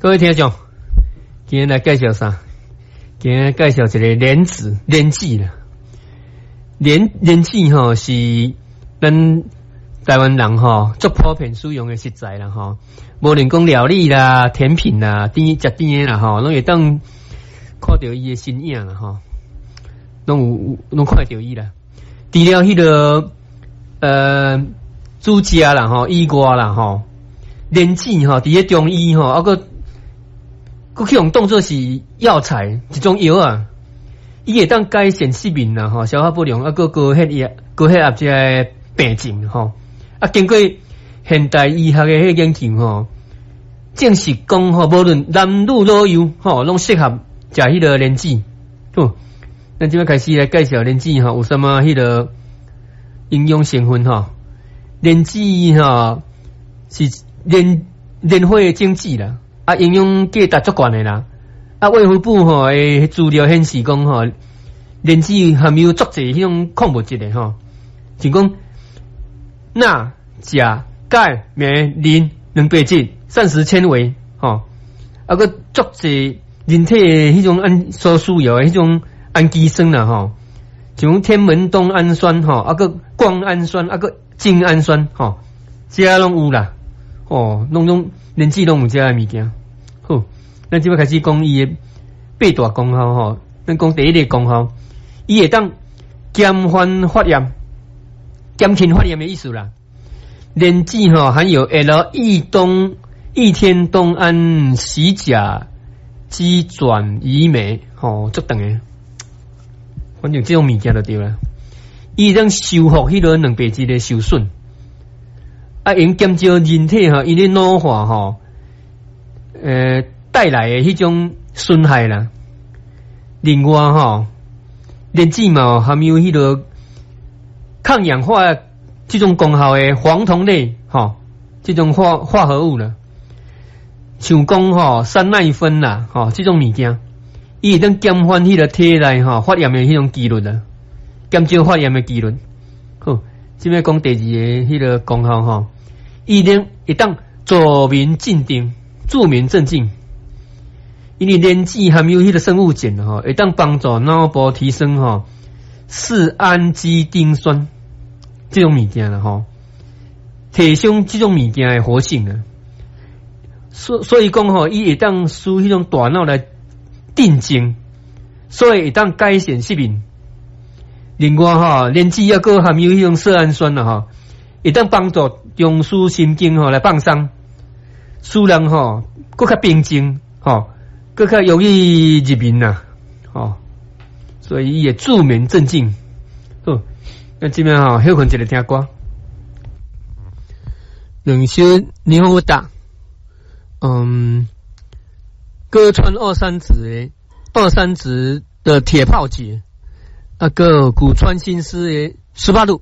各位聽眾，今日來介紹啥？今日介紹一个蓮子，蓮子啦。蓮子吼是咱台灣人吼足普遍使用的食材啦吼。無論講料理啦、甜品啦、甜食甜的啦吼，攏會當看著伊的身影啦吼，攏有攏看著伊啦。除了彼個煮食啦吼以外啦吼，蓮子吼佇咧中醫吼，猶閣閣去予當做是藥材一種藥啊，伊會當改善失眠啦吼，消化不良，猶閣高血壓、高血壓這个病症吼。啊，經過現代醫學的彼個研究吼，證實講吼，無論男女老幼吼，攏適合食彼个蓮子。好，咱這擺開始來介紹蓮子吼，有啥物彼个營養成分吼？蓮子吼是蓮蓮花的種子啦。啊，營養價值足懸的啦！啊，衛福部吼的資料顯示講吼，蓮子含有足濟彼種礦物質的吼，像講鈉、鉀、鈣、鎂、磷、蛋白質、膳食纖維吼，啊，閣足濟人體的彼種按所需要的彼種氨基酸啦吼，像天門冬氨酸吼，啊，閣胱氨酸，啊，閣精氨酸吼，這攏有啦，哦，攏總。蓮子攏有這个物件，好，咱這擺開始講伊的八大功效吼。咱講第一个功效，伊會當減緩發炎、減輕發炎的意思啦。蓮子吼含有 L 異東異天冬胺酰甲基轉移酶，吼，足長的，反正這種物件就對啦。伊會當修復彼个蛋白質的受損。啊，會減少人體吼因為老化吼，帶來的彼種損害啦。另外吼，蓮子嘛含有彼个抗氧化這種功效的黃酮類吼，這種化合物啦，像講吼山奈酚啦，吼這種物件，伊會當減緩彼个體內吼發炎的彼種機率啦，減少發炎的機率。好，這擺講第二个彼个功效吼。伊能會當助眠鎮定，助眠鎮靜。因為蓮子含有彼个生物鹼吼，會當幫助腦部提升吼四氨基丁酸這種物件啦吼，提升這種物件的活性啊。所以講吼，伊會當使彼種大腦來鎮靜，所以會當改善失眠。另外吼，蓮子猶閣含有彼種色胺酸啦吼，會當幫助中樞神經吼來放鬆，使人吼閣較平靜吼，閣較容易入眠啦，吼，所以伊會助眠鎮靜。好，咱這擺吼歇睏一下聽歌。兩首日本歌，歌川二三子的二三子的鐵炮姐，啊閣古川新司的斯巴魯。